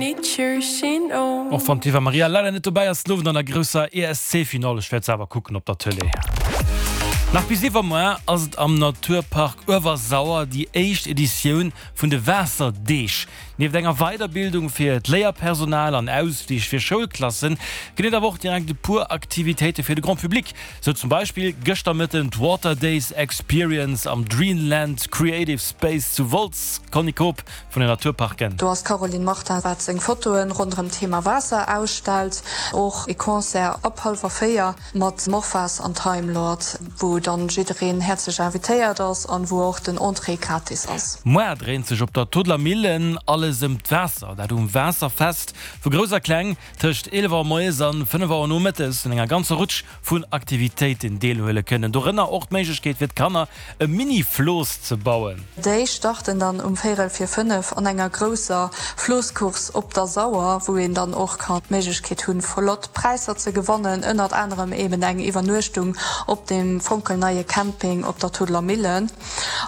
Och wann d'Eva Maria leider net dobäi ass den Owend an der grousser ESC-Finall, ech wäert se awer kucken op der Tëlee. Nach bis iwwermuer ass et am Naturpark Uewersauer déi éischt Editioun vun de Waasserdeeg. Nieft enger Weiderbildung fir d'Léierpersonal an Ausflich fir Schoulklassen ginn et awer och direkt e puer Aktivitéite fir de Grand Public. Sou zum Beispill gëschter Mëtten d'Water Days Experience am Dreamland Creative Space zu Wolz, Conny Koob vun den Naturparken. Do ass d'Caroline Martin wat seng Fotoen ronderëm d'Thema Waasser ausstellt. Och ee Concert ab hallwer 4 mat Morphas an Time Lord, wou dann jiddereen häerzlech invitéiert ass an wou och den Entrée gratis ass. Moar dréint sech op der Todeler Millen alles ëm d'Waasser, dat um Waasserfest, wou Grouss a Kleng tëscht 11 Auer moies an 5 Auer nomëttes un enger ganzer Rutsch vun Aktivitéiten deelhuele kënnen, dorënner och d'Méiglechkeet fir d'Kanner e Mini-Flooss ze bauen. Déi starten dann um véirel vir 5 an enger grousser Floosscourse op der Sauer, wou een dann och kann d'Méiglechkeet hunn flott Präisser ze gewannen, ënnert anerem eben eng Iwwernuechtung op dem fonkelneie Camping op der Todeler Millen.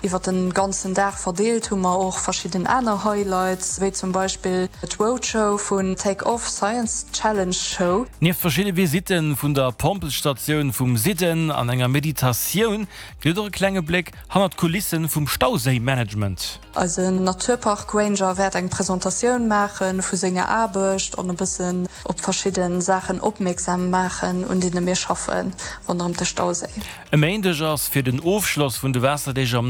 Iwwer den ganzen Dag verdeelt hu mer och verschidden aner Highlights, wéi zum Beispill d'Roadshow vun Take Off Science Challenge Show. Nieft verschidde Visitte vun der Pompelstatioun vum Süden an enger Meditatioun gëtt et och e klenge Bléck hannert d'Kulisse vum Stauséi-Management. Eisen Naturpark Ranger wäert eng Presentatioun maache vu senger Aarbecht an e bëssen op verschidde Saachen opmierksam maachen, un deene mir schaffen ronderëm de Stauséi. E Méindeg ass fir den Ofschloss vun de Waasserdeeg am.